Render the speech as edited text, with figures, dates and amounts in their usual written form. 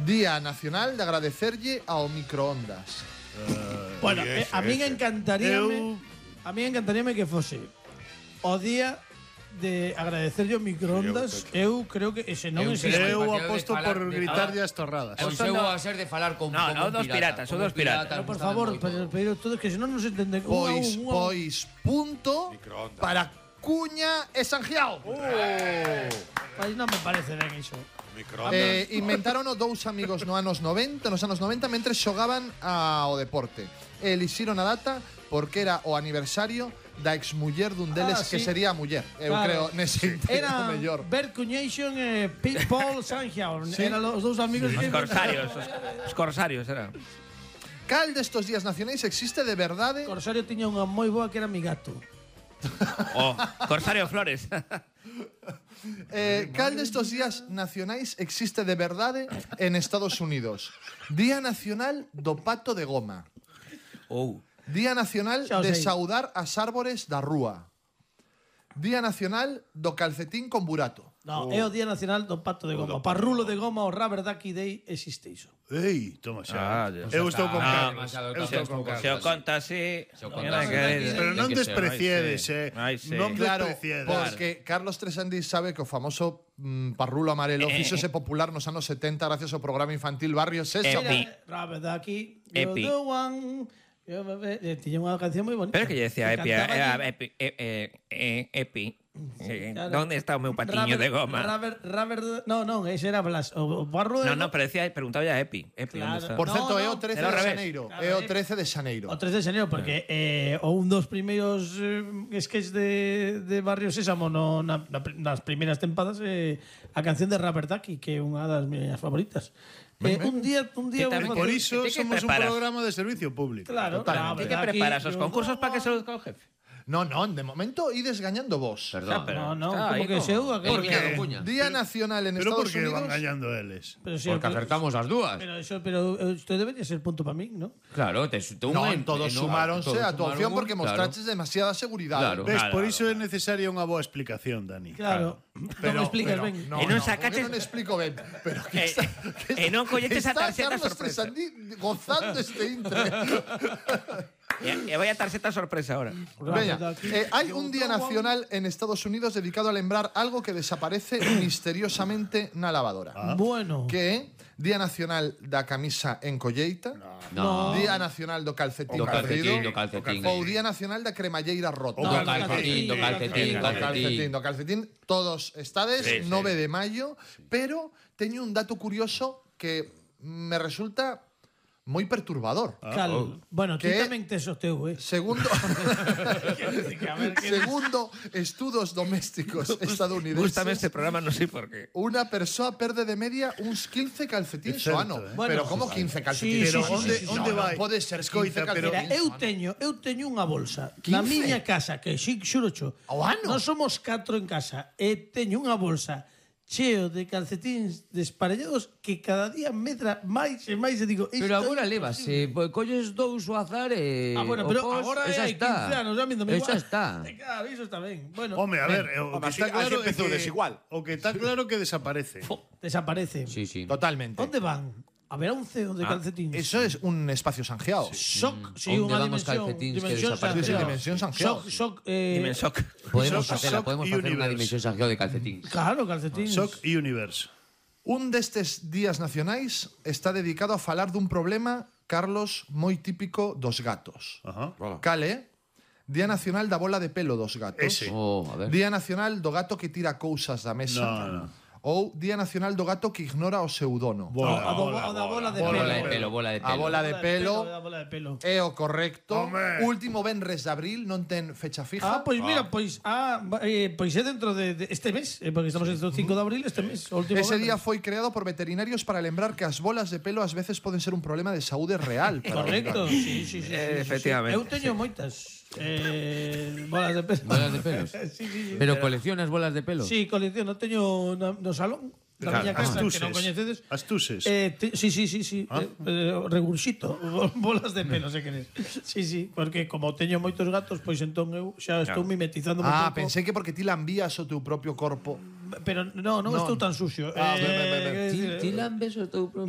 Día Nacional de agradecerlle ao microondas. Bueno, a min encantaríame que fose o día de agradecerlle o microondas. Eu creo que ese non existe. Eu aposto por gritarlle as torradas. O seu a ser de falar con dos piratas, son dos piratas. Pero por favor, pero todos que senón non se entende. Pois punto para Cuña e Sangiao. Pois non me parece ben iso. Inventarono dous amigos nos anos 90 mentre xogaban ao deporte. Elixiron a data porque era o aniversario da exmuller dun deles que sería a muller. Eu creo nese era mellor. Bert Cuñation e Paul Sangiao. Eran os dous amigos Os corsarios. Os corsarios eran. Cal destos días nacionais existe de verdade? Corsario tiña unha moi boa que era mi gato. Corsario Flores. Cal destos días nacionais existe de verdade en Estados Unidos? Día Nacional do Pato de Goma. Día Nacional de saudar as árbores da rúa. Día Nacional do calcetín con burato. No, é o Día Nacional do Pato de Goma. Parrulo de goma, o Rubber Ducky Day existe iso. Ei, toma xa. Eu estou con Carlos. Se o conta así. Pero non despreciedes, non despreciedes. Porque Carlos Tresandi sabe que o famoso parrulo amarelo fíxose popular nos anos 70 gracias ao programa infantil Barrio Sésamo. Rubber Ducky, you're the one. Tiña unha canción moi bonita. Pero que lle decía Epi, era Epi. ¿Dónde está o meu patiño de goma? Non, ese era Blas. O barro de No, pero decía, preguntaba a Epi. Claro. ¿Dónde está? Por certo, é o 13 de xaneiro. É o 13 de xaneiro. O 13 de xaneiro, porque un dos primeiros sketches de Barrio Sésamo nas primeiras tempadas a canción de Rubber Ducky, que é unha das miñas favoritas. Un día por iso somos un programa de servicio público. Claro. ¿Qué preparas? ¿Os concursos para que se lo diga o jefe? Non, de momento ides gañando vos. Perdón, No, como que seu. Porque Día Nacional en Estados Unidos. Pero por que van Unidos. gañando eles? Porque acertamos as dúas. Pero isto debería ser punto para min, ¿no? Claro, todos sumáronse a tu opción porque mostraches demasiada seguridade. Ves, por iso é necesaria unha boa explicación, Dani. Claro. Non me explicas ben. E non sacaches. Non explico ben. Pero E non colleches a tarxeta Carlos sorpresa. Tresandi gozando este intre. E vai a tarxeta sorpresa ahora. Veña, hai un día nacional en Estados Unidos dedicado a lembrar algo que desaparece misteriosamente na lavadora. Bueno. Que é Día Nacional da Camisa en colleita. No. Día Nacional do calcetín perdido. Ou Día Nacional da cremalleira rota. Do calcetín. Todos estades, 9 de maio. Pero teño un dato curioso que me resulta moi perturbador. Bueno, ti tamén tes o teu, Segundo estudos domésticos estadounidenses. Gústame este programa, non sei por qué. Unha persoa perde de media uns 15 calcetíns ao ano. Pero como 15 calcetíns? Pero onde vai? Pode ser 15 calcetíns. Eu teño unha bolsa na miña casa, que xurocho. Ao ano? Non somos 4 en casa, e teño unha bolsa cheo de calcetíns desparellados que cada día medra máis e máis e digo... Pero agora levase, colles dous ao azar e... bueno, pero agora hai 15 anos, a mí non me igual. Esa está. Claro, iso está ben. Bueno, Home, a ver, o que está claro é que desigual. O que está claro que desaparece. Desaparece. Sí. Totalmente. Onde van? Haberá un CEO de calcetíns. Eso es un espacio sanjeado. Shock, Onde van os calcetíns que desaparecen? Dimensión sanjeado. Shock. Podemos facer unha dimensión sanjeado de calcetíns. Claro, calcetíns. Shock Universe. Un destes días nacionais está dedicado a falar dun problema, Carlos, moi típico dos gatos. Cal é? Día Nacional da bola de pelo dos gatos. Ese. A ver. Día Nacional do gato que tira cousas da mesa. No. Ou Día Nacional do gato que ignora o seu dono. A bola de pelo. A bola de pelo é o correcto. Home. Último venres de abril, non ten fecha fija. Pois mira, pois é dentro de este mes, porque estamos en 5 de abril, este mes, o último. Ese día foi creado por veterinarios para lembrar que as bolas de pelo ás veces poden ser un problema de saúde real. Correcto, sí. Efectivamente. Eu teño moitas bolas de pelo. Bolas de pelos. Sí. Pero coleccionas bolas de pelo? Sí, colecciono, teño no salón da miña casa, que non coñecedes. Astuses. Sí. Regurxito, bolas de pelo, se queres. Sí, porque como teño moitos gatos, pois entón eu xa estou mimetizando un pouco. Pensei que porque ti lambías o teu propio corpo. Pero non estou tan sucio. Ti lambes o teu propio...